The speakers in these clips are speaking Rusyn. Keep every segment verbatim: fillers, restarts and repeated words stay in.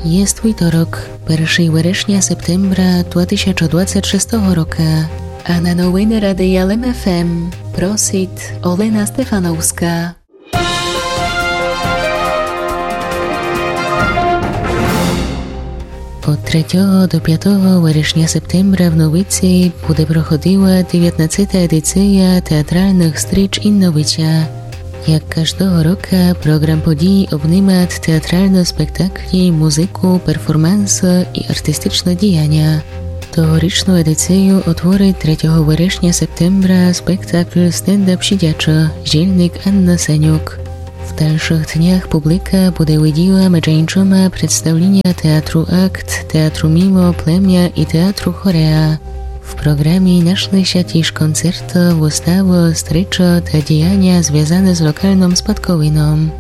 Єст вівторок, першого верешня септембра два тисячі двадцять шестого рока. А на новины Радия Лем ФМ просит Олена Стефановска. Од третього до пятого верешня септембра в Новиці буде проходила девятнадцета едиция театралных стрич Инновиця. Як каждого рока, програм подій обнимат театралны спектаклі, музыку, перформансы и артистичны діяня. Тогорічну едицию отворит третього верешня септембра спектакль «Стендап сидячо», жільник Анна Сенюк. В дальшых днях публика буде виділа меджи иншыма представліня театру «Акт», театру «Мимо», «Племя» и театру «Хореа». В програмі нашли ся тіж концерты, выставы, стрічы та діяня, звязаны з локалным спадковином.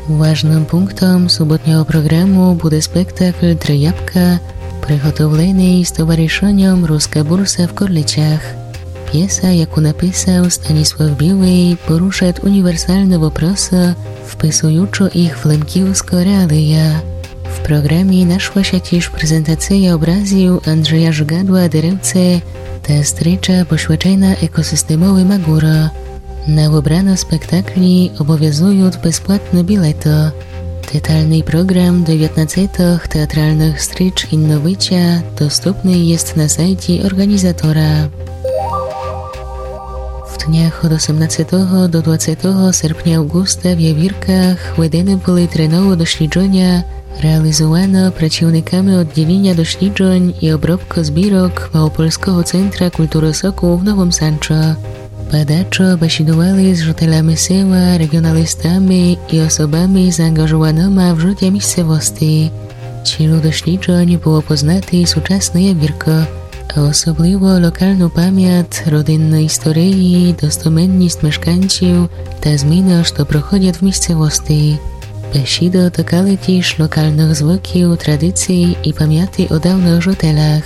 Важным пунктом суботнього програму буде спектакль «Три ябка», приготовленый з товаришыньом «Руска бурса» в Корличах. Пєса, яку написал Станіслав Білый, порушат універсалны вопросы, вписуючы їх в лемківскы реалия. В програмі нашла ся тіж презентация образів Анджея Жигадла «Деревце» та стріча посвячена екосистемови Магура. На выбраны спектаклі обовязуют безплатны білеты. Деталный програм девятнадцетых театралных стріч Инновиця доступный єст на сайті орґанізатора. В днях од осемнадцетого до двадцетого серпня Авґуста в Явірках ведены были три новы досліджыня, реалізуваны працівниками одділіня досліджынь и обробкы збірок Малопольского центра культуры Сокол в Новым Санчо. Бадачо бесідували з жителями села, реґіоналістами и особами заанґажованыма в жытя місцевости. Ціллю досліджынь было познати сучасны Явіркы, а особливо локалну памят, родинны історії, достоменніст мешканців та зміны, што проходят в місцевости. Бесіды токали тіж локалных звыків, традиций и памяти о давных жителях.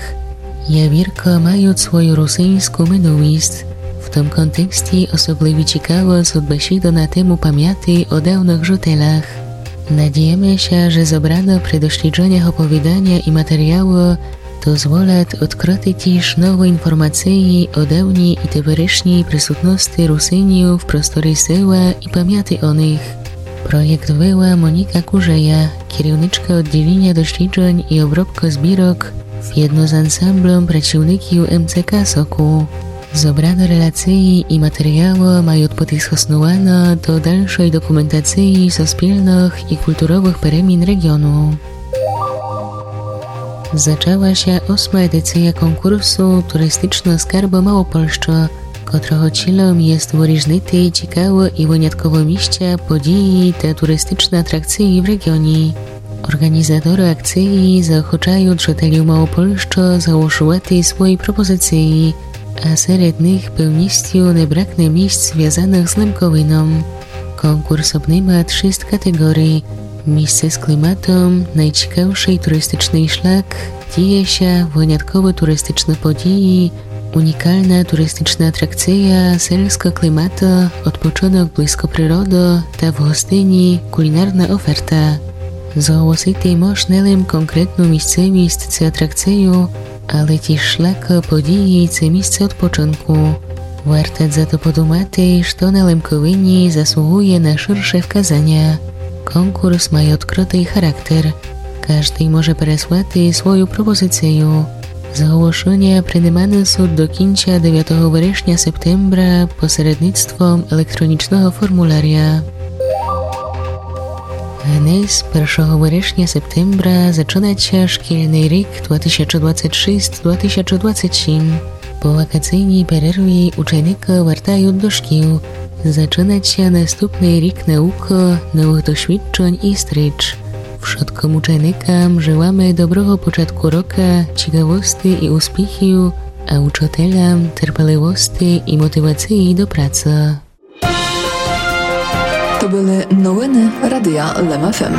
Явіркы мают свою русиньску минуліст. В тым контексті особливі цікавы сут бесіды на тему памяти о давных жителях. Надієме ся, же зобраны при досліджынях оповіданя и матеріялы дозволят одкрыти тіж новы інформациі о давній и теперешній присутности Русинів в просторі села и памяти о них. Проєкт вела Моніка Кужея, керівничка одділіня досліджынь и обробкы збірок, вєдно з ансамблем працівників МЦК Сокол. Зобраны релациі и матеріялы мают быти схоснуваны до дальшой документациі суспільных и культуровых перемін реґіону. Зачала ся осма едиция конкурсу «Туристичны скарбы Малопольщы», котрого цілом єст вырізнити цікавы и вынятковы місця, подіі та туристичны атракциі в реґіоні. Орґанізаторы акциі заохочают жителів Малопольщы заголошувати свої пропозициі, а серед них певністю не бракне місць, звязаных з Лемковином. Конкурс обнимат шіст катеґорій: місце з кліматом, найцікавшый туристичный шлях, діє ся, вынятковы туристичны подіі, унікална туристична атракция, сельска клімата, одпочынок близько природы та в гостині кулінарна оферта. Зголосити мож не лем конкретну місцевіст ци атракцию, але тіж шлях, подіі ци місце одпочынку. Варто за то подумати, што на Лемковині заслугує на ширше вказаня. Конкурс має одкрытый характер. Каждый може переслати свою пропозицию. Зголошыня приниманы сут до кінця девятого верешня, септембра, посередництвом електронічного формуляря. Гнесь першого верешня, септембра, зачынат ся шкільный рік два тисячі двадцять шіст, два тисячі двадцять сім. По вакацийній перерві ученика вертают до шкіл. Зачынат ся наступный рік наукы, новых досвідчень и стріч. Вшыткым ученикам желаме доброго початку рока, цікавости и успіхів, а учителям терпеливости и мотивациі до праці. То были новины Радия Лем ФМ.